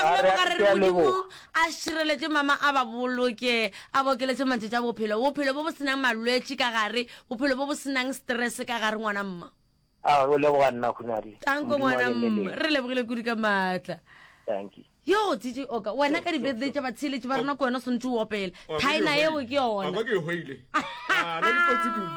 a go Re leboga a re ke re a Modimo leboga. a šireletše mama a ba boloke, a ba okeletše matšatši a bophelo, bophelo bo bo senang malwetši ka gare, bophelo bo bo senang stress ka gare ngwana mma. A o leboga nna Khunadi. Tanko Modimo a ngwana be le mma, lena. re lebogile kudu ka maatla. Dankie. Yo DJ Oka, wena ka di-birthday tša batheeletši ba rena ko wena o swanetše o opele. Wa kwa ke Thaena yeo hwaile. ke Wa yona. kwa ke e hwaile. Ah, nna ke kotsi kudu.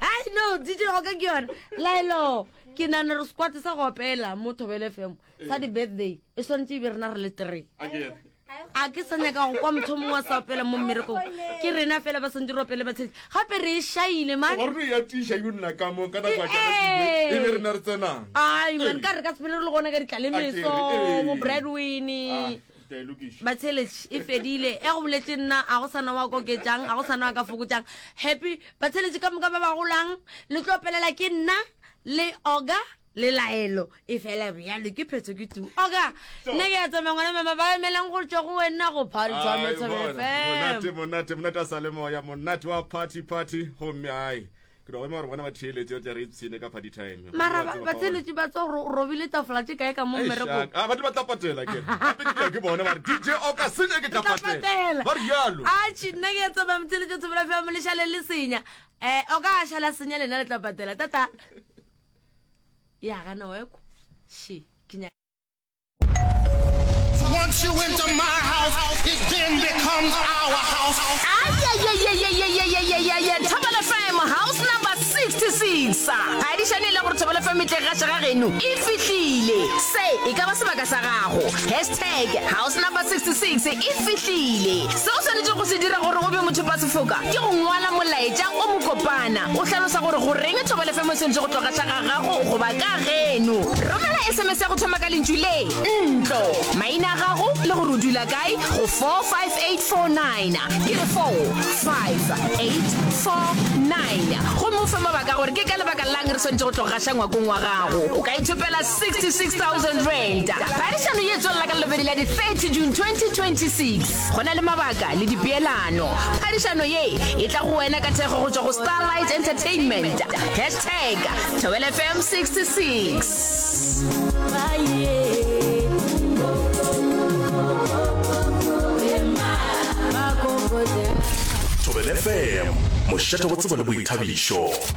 Ai no, DJ Oka ke yona. Laelo, ke nahana re squad sa go opela mo Thobela FM sa di-birthday e swanetše e be rena re le three. A ke re. A ke sa nyaka go kwa motho mongwe a sa opela mo mmerekong. Ke rena fela ba swanetše re opele batheeletši. Gape re e šaile man. Wa re ya tiša yo nna ka mo ka nako ya ka e be rena re tsenang. Ai man, ka re ka sepele re le gona ka ditlalemeso, bo Bradwin. Ah, Batheeletši e fedile. E go boletše nna a go sana wa koketšang, a go sana wa ka fokotšang. Happy batheeletši ka moka ba ba golang, le tlo opelela ke nna le Oga le laelo e fela bjalo ke phetho ke tu oka nna ke a tsamaya ngwana mama ba emelang go tšwa go wena go party time Thobela monate monate monate a sa le moya monate wa party party gomme ai ke no gore bona ba theeletše re tle re ipshine ka party time mara ba theeletše ba tsa gore o robile tafola tše kae ka mo mmerekong a batho ba tla patela ke gape ke ke bona ba re DJ o ka senya ke tla patela ba re yalo atšhe nna ke a tsamaya motheeletše Thobela FM le šale le senya um o ka šala senya lena le tla patela tata ya gana weko she ke nyaka Once you enter my house, it then becomes our house. Ayayayayayayayayaya Thobela FM house number 66 Phadišano e le gore Thobela FM e tle gaša ga geno e fihlile Se e ka ba sebaka sa gago Hashtag house number 66 e fihlile Se o swanetšego go se dira gore o be mothopasefoka ke go ngwala molaetša o mokopana o hlalosa gore goreng Thobela FM e swanetše go tlo gaša ga gago goba ka geno. Romela SMS ya go thoma ka lentšu le, ntlo, maina a gago le gore o dula kae go 45849. Ke re 45849. Gomme o fe mabaka a gore ke ka lebaka la'ng re swanetše go tlo gaša ngwakong wa gago. O ka ithopela R66,000. Phadišano ye e tswelela ka Lelobedi la di 30 June 2026. Go na le mabaka le dipeelano. Phadišano ye e tla go wena ka thekgo go tšwa go Starlight Entertainment. Hashtag Thobela FM 66. Thobela FM, mošate wa tsebo le boithabišo.